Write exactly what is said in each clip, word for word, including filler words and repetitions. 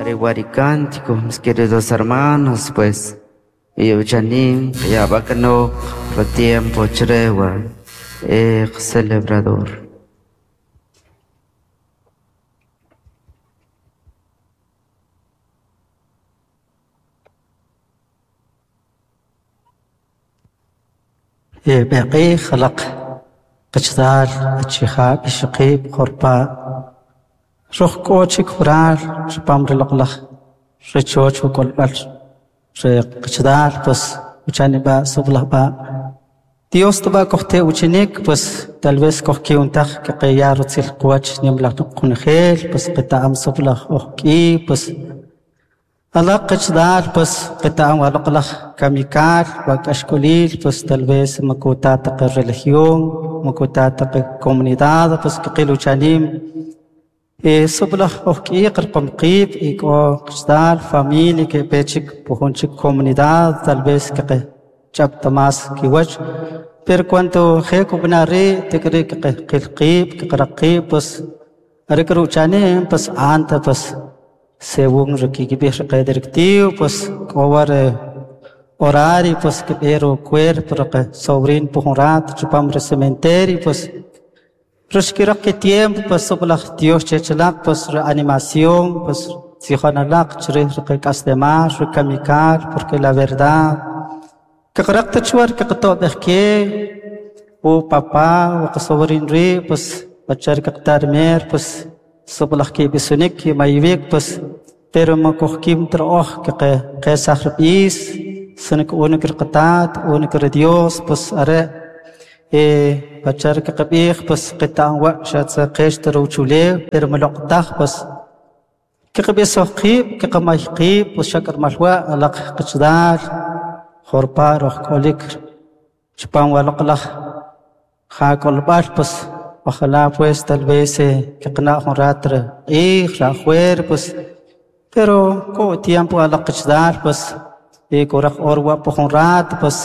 Areguaricántico, mis queridos hermanos, pues, y uchanim, ya bacano, lo tiempo chrewa, eh, celebrador. بقي خلق قشدال أتشخاب شقيب خربا روح كوتشك فرال شبام رلقلخ رتشوش وكل بل قشدال بس وشاني با سبله با Dios تبا كختي وشنيك بس tal vez كخكي ونتخ كقيار تسيل قواتش نملخ نقنخيل بس قطع أم سبله أخكي بس الله قشدال بس قطع ولقلخ كاميكال وكاشكوليل بس tal vez مكوتا religión مكوتا comunidad بس كقيلو شانيم إيه سبلخ أخكي قرقم قيب إيكو قشدال familia que بيتشك بوهونشك comunidad tal vez كق جاب تماس كيوش pero cuando خيكو بناري تكري قيب كقرقيب بس أركرو شانيم بس أنت بس según lo que directivo, pues cobrar horario, pues que pero cuerpo, que sobrin por un rato, chupamos el cementerio, pues pero que tiempo, pues sobre la Dios chechelak, pues reanimación, pues zijonalak, chre castemar, recamicar, porque la verdad, que carácter chuar, que todo que o papá, o que sobrin ri, pues bachar que tarmer, pues sobre la que bisunik, mayvik, pues pero ما كوخكيم تروح كق قيس رئيس سنك أونك القطات أونك الديوس بس أرى إيه بشار كقبيخ بس قطع وشات قيش تروشولي pero ملقطخ بس كقبي سوقيب كقمايقيب بس شكر ملوا لق قشدار خربا روح كوليك شبان ولقلخ خاك البال بس ojalá pues tal vez كقنا خراتر إيه خلاخوير بس pero con tiempo a la qichdal pues eh coraj orwa pojonrat pues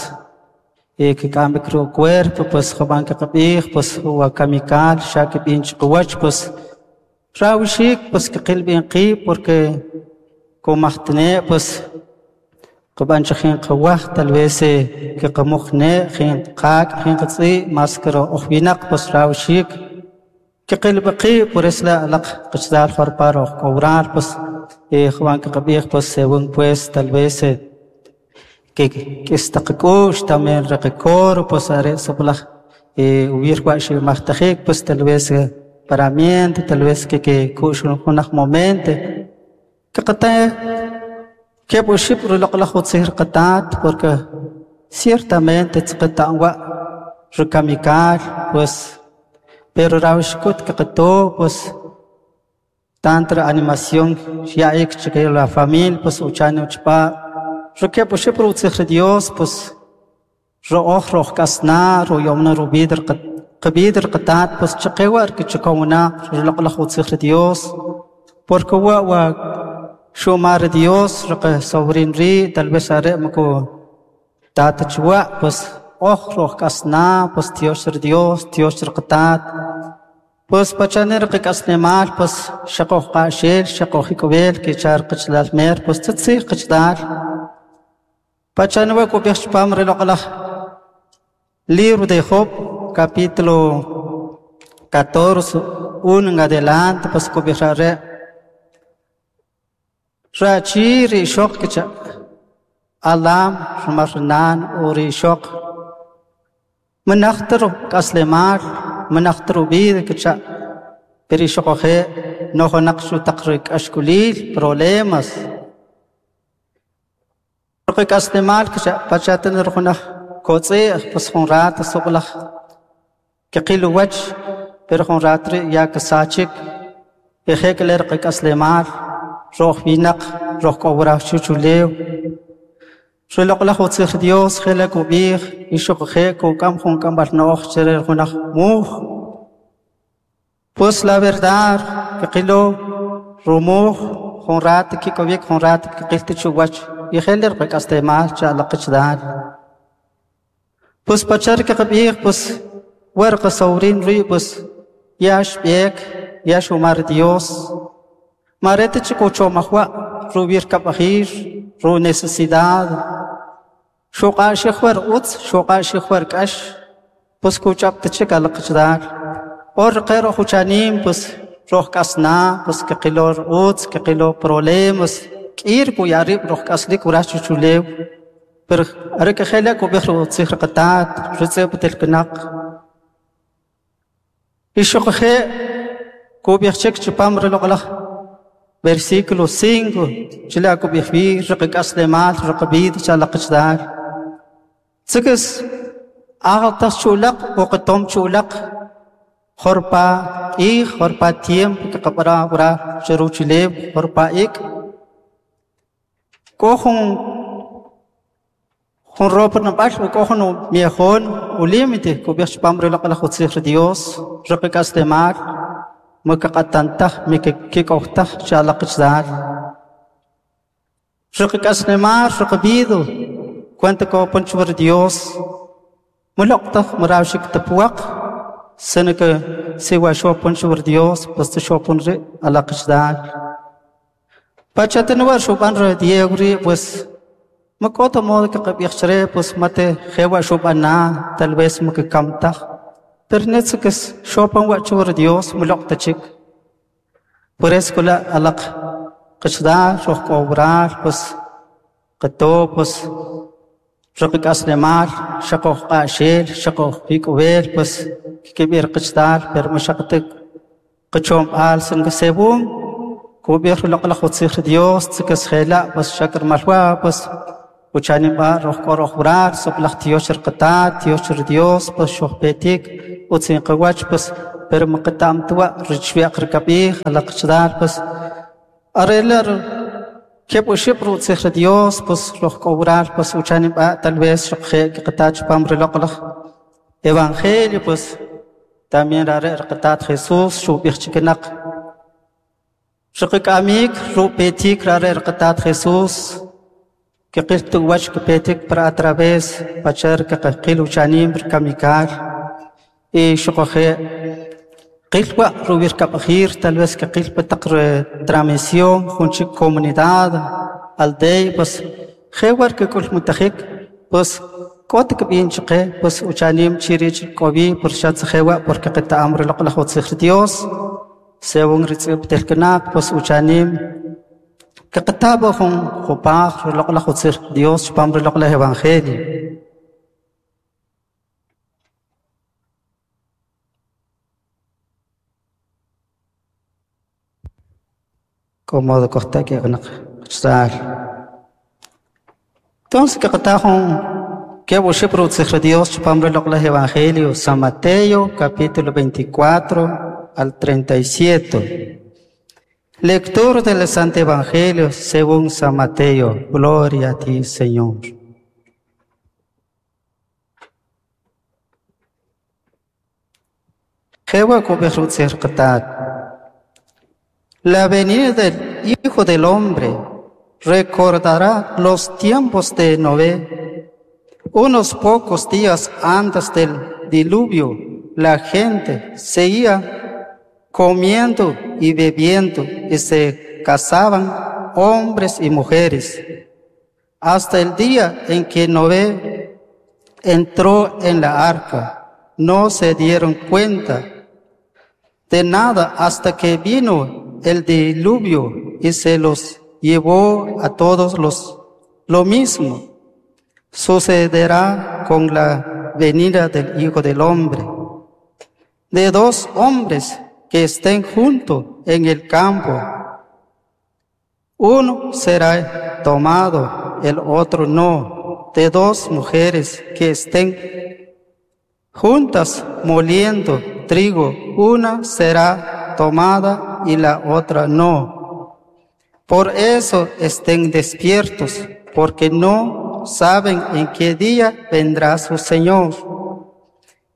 eh que cambie creo cuerpo pues joban que qabij pues wa kamikal shak binch quwach pues rawshik pues que qil bin qi porque comajtne pues qaban chajin qawaj tal vez que qamukhne jin qaq jin qtsi maskaro ojbinaq pues rawshik que qil bqi por eso la laq qichdal farparo cobrar pues eh Juan que pues según pues tal vez que que estaqkush también recor pues are soplaj eh hubiera guash martajik pues tal vez paramiento tal vez que que kush unas momento que qata que buship rulaqlaj utsir qatat porque ciertamente tsqata wa recamicar pues pero rawshkut que qato pues tanta animación ya ik que la familia pues uchane uchpa roque pues produce Dios pues rooj roj kasna ro yomna ro bidr qabidr qatat pues chqewar que chqawna rlaqlaj utsir Dios porque wa wa shumar Dios roque sobrin ri tal vez are mako tata chwa pues oj roj kasna pues Dios Dios Dios qatat pues pachaner que casnemal pues shaqoj qashel shaqoj ikobel que char qichlal mer pues tsitsi qichdal pachanwa kubix pam reloqlaj libro de Job capítulo catorce uno en adelante pues kubixare rachi rishoq kicha alam rumarnan uri shoq مناختر kaslemal مناختر بيد كتشا بريشقه نوخ نقش تقريك أشكوليل problemas رقيك أسلمال كتشا باتشاتن رخنا كوتسي بس خنرات السقلخ كقيل وجه برخنرات يا كساتشك يخيك لرقيك أسلمال روح بينق روح كورا شوشوليو شو لقلخ وتصير ديوس خلك وبيخ يشق خيك وكم خون كم برنوخ شرر خنخ موخ pues la verdad que qilo rumuj خنرات كي كوبيك خنرات كقيلت شوش يخلي رقك استعمال شالقش دار pues pachar que قبيخ pues ورق صورين ري pues ياش بيك ياش ومار ديوس مارتش كوچو مخوا rubir kabajir ru necesidad xuq'axij war utz xuq'axij war k'ax pues kuch'ab' alaq qachdal or qe roj uchanim pues roj k'asna pues kqilo utz kqilo problemas k'ir kuyarib' roj k'aslik wraj chuchulew pero are kejela kub'ij rutzij riqatat ritz'ib' telkinaq ixuqje kub'ij chik chipam riloq'laj versículo cinco chila kub'ij wi riqak'aslemal riqab'id chalaq qachdal tzikis agtas chulaq uqatom chulaq jorpa q'ij jorpa tiempo kqab'ara wra chiruchilew jorpa ik k'o jun jun ropa nab'al u k'o jun miejon u límite kub'ij chipam riloq'laj utzij ri Dios riqak'aslemal mekaq'atantaj mekik'owtaj chalaq qachdal riqak'aslemal riqab'ido cuenta kopan chuwar Dios muloq'taj marawxik tapuwaq sino que siwa xopon chuwar Dios pues xopon ri alaq qachdal pachatanwar xub'an ri Diego ri pues mak'oto modo que qab'ij chre pues mate jewa xub'ana tal vez mekkamtaj pero netzikis xopan wa chuwar Dios muloq'tachik por eso kula alaq qachdal roj k'owral pues qato pues riqak'aslemal xaqoj q'axel xaqoj pik'ub'el pues kikib'ir qachdal pero maxaqtik qachomb'al sin que según kub'ij riloq'laj utzij ri Dios tzikis jela pues xak'irmalwa pues uchanim b'a roj k'o roj wral soq'laj tiox riqatat tiox ri Dios pues xojpetik utzin qawach pues pero maqatamtwa richwiaq rikab'ij alaq qachdal pues arelar keb' uxib' rutzij ri Dios pues roj k'o wral pues uchanim b'a tal vez xoqje kiqatat chipam riloq'laj evangelio pues también rare riqatat Jesús xub'ij chikinaq riqak'amik rupetik rare riqatat Jesús kiqil tuwach kipetik para a través pachar kiqil uchanim rikamikal y xoqje qilwa rubir kab'ajir tal vez kiqil pataq transmisión junchik comunidad aldea pues jewar kik'ul mutajik pues k'ot kb'in chqe pues uchanim chirich k'obi por xatz jewa porque qeta'am riloq'laj utzij ri Dios según ritz'ib' telkinaq pues uchanim kiqataba jun jupaj riloq'laj utzij Dios chipam riloq'laj evangelio. Como de costa que qachdal entonces kiqataj jun keb' uxib' rutzij ri Dios chipam riloq'laj evangelio San Mateo capítulo veinticuatro al treinta y siete. Lectura del Santo Evangelio según San Mateo. Gloria a ti, Señor. Jewa kub'ij rutzij riqatat. La venida del Hijo del Hombre recordará los tiempos de Noé. Unos pocos días antes del diluvio, la gente seguía comiendo y bebiendo y se casaban hombres y mujeres, hasta el día en que Noé entró en la arca. No se dieron cuenta de nada hasta que vino el diluvio y se los llevó a todos los. Lo mismo sucederá con la venida del Hijo del Hombre. De dos hombres que estén juntos en el campo, uno será tomado, el otro no. De dos mujeres que estén juntas moliendo trigo, una será tomada y la otra no. Por eso estén despiertos, porque no saben en qué día vendrá su Señor.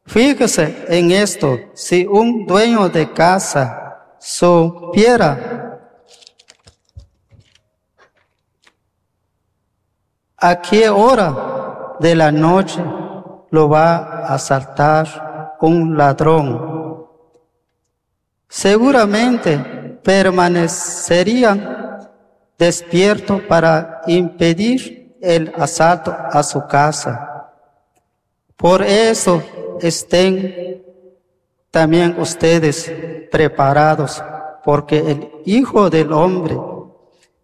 Fíjese en esto, si un dueño de casa supiera a qué hora de la noche lo va a asaltar un ladrón, seguramente permanecerían despierto para impedir el asalto a su casa. Por eso estén también ustedes preparados, porque el Hijo del Hombre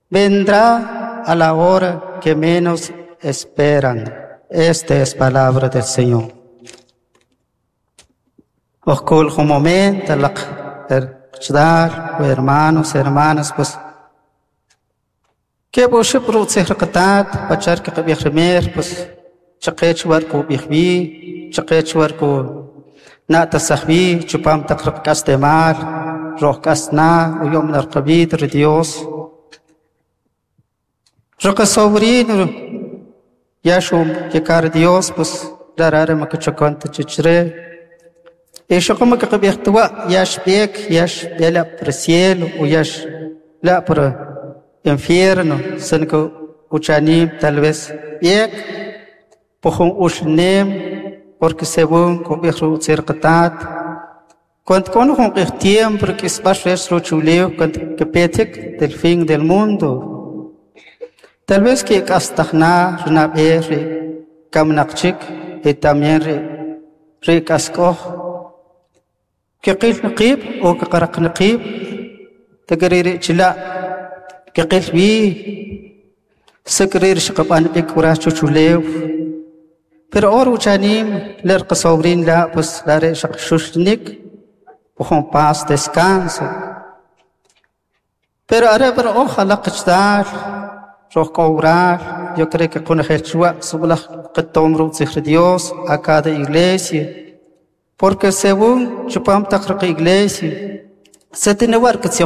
vendrá a la hora que menos esperan. Esta es palabra del Señor. Ojkul un momento, hermanos, hermanas, pues que qatat pachar que qabij pues chaqech war ku bijbi chaqech war ku natasajbi chupam taq kastemal roj kasna uyom narqabit Dios roqa sobrino yashum que Dios pues darare makachakanta chichre y como que qabijtuwa yash biek yash bela por cielo o yash la por infierno senko uchanim tal vez biek pojun ushnem porque según kubijru tzirqatat cuando con un tiempo que es chuleo cuando que petek del fin del mundo tal vez que kastajna rnabe kamnaqchik y también re re kaskoj que qil nqib o que qaraq nqib tagriri chila que qil bi sakrir shqaban bik wara chuchuleo pero ahora uchanim ler qasobrin la pues la re shaqshushnik pojón paz descanso pero ahora pero ojalá qchdar roj cobrar yo creo que con el chua sublaj qtomru Dios a cada iglesia porque según chupam taqraq iglesia se tiene war que se